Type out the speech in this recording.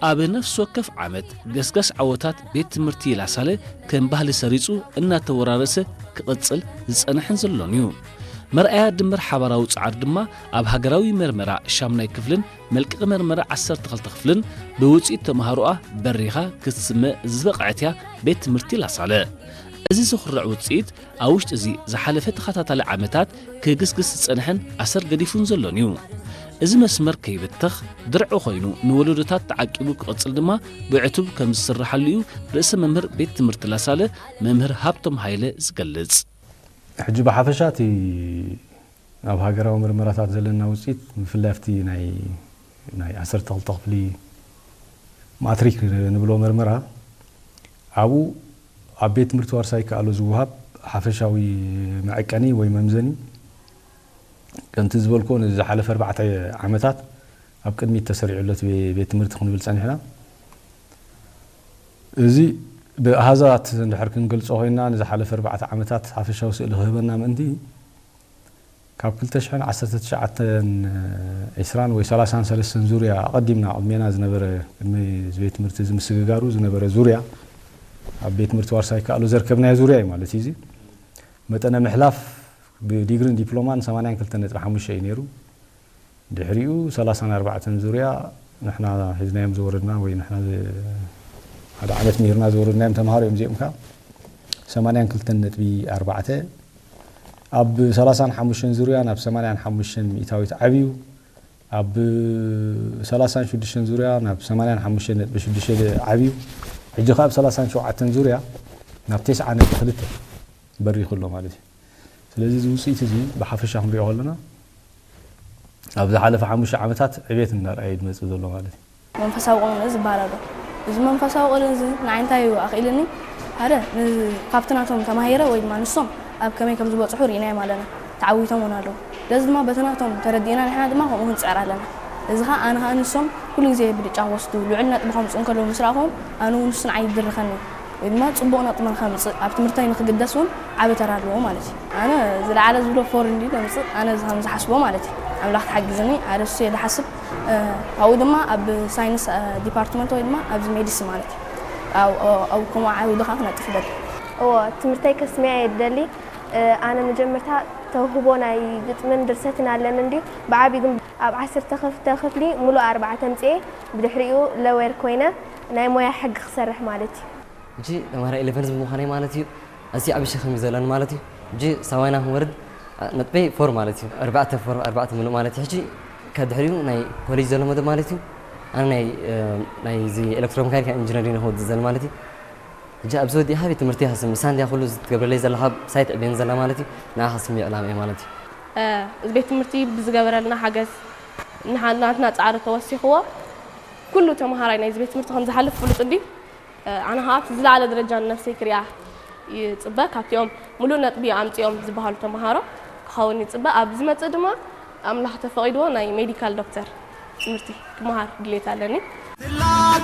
ኣብ ነፍሲ ወከፍ ዓመት ገስጋስ ዓወታት ቤት ትምህርቲ ላሳለ ከም ባህሊ ሰሪጹ እናተወራረሰ ክቕጽል ዝጸንሐን ዘሎን እዩ። መርኣያ ድምር ሓባራዊ ጻዕሪ ድማ ኣብ ሃገራዊ መርመራ ሻምናይ ክፍልን መልቀቂ መርመራ ዓሰርተ ክልተ ክፍልን ብውጽኢት ተምሃሮኣ በሪኻ ክትስመ ዝበቕዐት እያ ቤት ትምህርቲ ላሳለ። እዚ ዝኹርዕ ውጽኢት ኣብ ውሽጢ እዚ ዝሓለፈ ተኸታታሊ ዓመታት ክግስግስ ዝጸንሐን ኣሰር ገዲፉን ዘሎን እዩ። እዚ መስመር ከይብተኽ ድርዒ ኮይኑ ንወለዶታት ተዓቂቡ ክቕጽል ድማ ብዕቱብ ከም ዝስርሓሉ እዩ ርእሰ መምህር ቤት ትምህርቲ ላሳለ መምህር ሃብቶም ሃይለ ዝገልጽ። ሕጂ ብሓፈሻ እቲ ኣብ ሃገራዊ መርመራታት ዘለና ውፅኢት ብፍላይ ኣብቲ ናይ ናይ ዓሰርተ ክልተ ክፍሊ ማትሪክ ንብሎ መርመራ ኣብኡ ኣብ ቤት ትምህርቲ ዋርሳይ ከኣሎ ዝወሃብ ሓፈሻዊ መዐቀኒ ወይ መምዘኒ ከምቲ ዝበልኩ ንዝሓለፈ ኣርባዕተ ዓመታት ኣብ ቅድሚት ተሰሪዑ ኣሎ እቲ ቤት ትምህርቲ ክንብል ፀኒሕና። እዚ ብኣሃዛት እንድሕር ክንገልፆ ኮይና ንዝሓለፈ ኣርባዕተ ዓመታት ሓፈሻዊ ስእሊ ክህበና ምእንቲ ካብ ክልተ ሽሕን ዓሰርተ ትሽዓተን ዒስራን ወይ ሰላሳን ሰለስተን ዙርያ ኣቐዲምና ቅድሜና ዝነበረ ቅድሚ እዚ ቤት ትምህርቲ እዚ ምስግጋሩ ዝነበረ ዙርያ ኣብ ቤት ትምህርቲ ዋርሳይ ከኣሎ ዘርከብናዮ ዙርያ እዩ ማለት እዩ። እዚ መጠነ ምሕላፍ ብዲግሪን ዲፕሎማን ሰማንያን ክልተን ነጥቢ ሓሙሽተ እዩ ነይሩ። ድሕሪኡ ሰላሳን ኣርባዕተን ዙርያ ንሕና ሒዝናዮም ዝወረድና ወይ ንሕና ዝ- ሓደ ዓመት ምሂርና ዝወረድናዮም ተምሃሮ እዮም እዚኦም ከ ሰማንያን ክልተን ነጥቢ ኣርባዕተ ኣብ ሰላሳን ሓሙሽተን ዙርያ ናብ ሰማንያን ሓሙሽተን ሚእታዊት ዓብዩ ኣብ ሰላሳን ሽዱሽተን ዙርያ ናብ ሰማንያን ሓሙሽተን ነጥቢ ሽዱሽተ ዓብዩ ሕጂ ከ ኣብ ሰላሳን ሸውዓተን ዙርያ ናብ ተስዓ ነጥቢ ክልተ በሪኹ ኣሎ ማለት እዩ። ስለዚ እዚ ውፅኢት እዚ ብሓፈሻ ክንሪኦ ከለና ኣብ ዝሓለፈ ሓሙሽተ ዓመታት ዕቤት እናርኣየ እዩ ዝመፅእ ዘሎ ማለት እዩ። መንፈሳዊ ቁልንዚ ዝበሃል ኣሎ። እዚ መንፈሳዊ ቁልንዚ ንዓይ እንታይ እዩ ኣኽኢልኒ? ሓደ ን- ካብቲ ናቶም ተማሂረ ወይ ድማ ንሶም ኣብ ከመይ ከም ዝበፅሑ ርኢናዮም ኣለና። ተዓዊቶም እውን ኣለዉ። ስለዚ ድማ በቲ ናቶም ተረዲእና ንሕና ድማ ከምኡ ክንፅዕር ኣለና። እዚ ኸዓ ኣነ ኸዓ ንሶም ኩሉ ግዜ ብልጫ ክወስዱ ልዑል ነጥቢ ከምፅኡ እንከለዉ ምስ ረኣኹዎም ኣነ እውን ንሱ ንዓይ ይድርኸኒ። ወይ ድማ ጽቡቕ ነጥቢ ንኸምጽእ ኣብ ትምህርተይ ንኽግደስ እውን ዓቢ ተራ ኣለዎ ማለት እዩ። ኣነ ዝለዓለ ዝብሎ ፎር እንድዩ ዘምጽእ ኣነ ከም ዝሓስቦ ማለት እዩ። ኣምላኽ ተሓጊዝኒ ኣደ እሱ እየ ዝሓስብ። ካብኡ ድማ ኣብ ሳይንስ ዲፓርትመንት ወይ ድማ ኣብዚ ሜዲስን ማለት እዩ። ኣብ ከምኡ ዓውዲ ከዓ ክነጥፍ ይደሊ። እዎ ትምህርተይ ከስምያ እየ ዝደሊ። ኣነ መጀመርታ ተውህቦ ናይ ግጥምን ድርሰትን ኣለኒ እንድዩ ብዓብዩ ግን ኣብ ዓሰርተ ክፍሊ ሙሉእ ኣርባዕተ ኣምፅኤ ብድሕሪኡ ለወየር ኮይነ ናይ ሞያ ሕጊ ክሰርሕ ማለት እዩ። ሕጂ ተምሃራይ ኢለቨን ብምዃነይ ማለት እዩ ኣዝዩ ዓቢ ሸኽም እዩ ዘለኒ ማለት እዩ። ሕጂ ሳባይና ክንወርድ ነጥበይ ፎር ማለት እዩ። ኣርባዕተ ፎር ኣርባዕተ ምሉእ ማለት እዩ። ሕጂ ካብ ድሕሪኡ ናይ ኮሌጅ ዘሎ መደብ ማለት እዩ። ኣነ ናይ ናይዚ ኤሌክትሮሜካኒካል ኢንጂነሪንግ ክወድእ ዘለ ማለት እዩ። ሕጂ ኣብዚ ወዲእኻ ቤት ትምህርቲ ኢኻ ስምዕ፣ ንሳ እንድያ ኩሉ ትገብረለይ ዘላ ካብ ሳይት ዕቤን ዘላ ማለት እዩ። ንዓኻ ስምዕ ዕላማ እየ ማለት እዩ። እዚ ቤት ትምህርቲ ብዝገበረልና ሓገዝ ናትና ፃዕሪ ተወሲኽዎ ኩሉ ተምሃራይ ናይዚ ቤት ትምህርቲ ከም ዝሓልፍ ፍሉጥ እንድዩ። ኣነ ከዓ ኣብቲ ዝለዓለ ደረጃ ንነብሰይ ክሪኣ ይፅበ። ካብቲኦም ሙሉእ ነጥቢ ኣምፂኦም ዝበሃሉ ተምሃሮ ክኸውን ይፅበ። ኣብ ዝመፅእ ድማ ኣምላኽ ተፈቒድዎ ናይ ሜዲካል ዶክተር ትምህርቲ ክመሃር ድሌት ኣለኒ።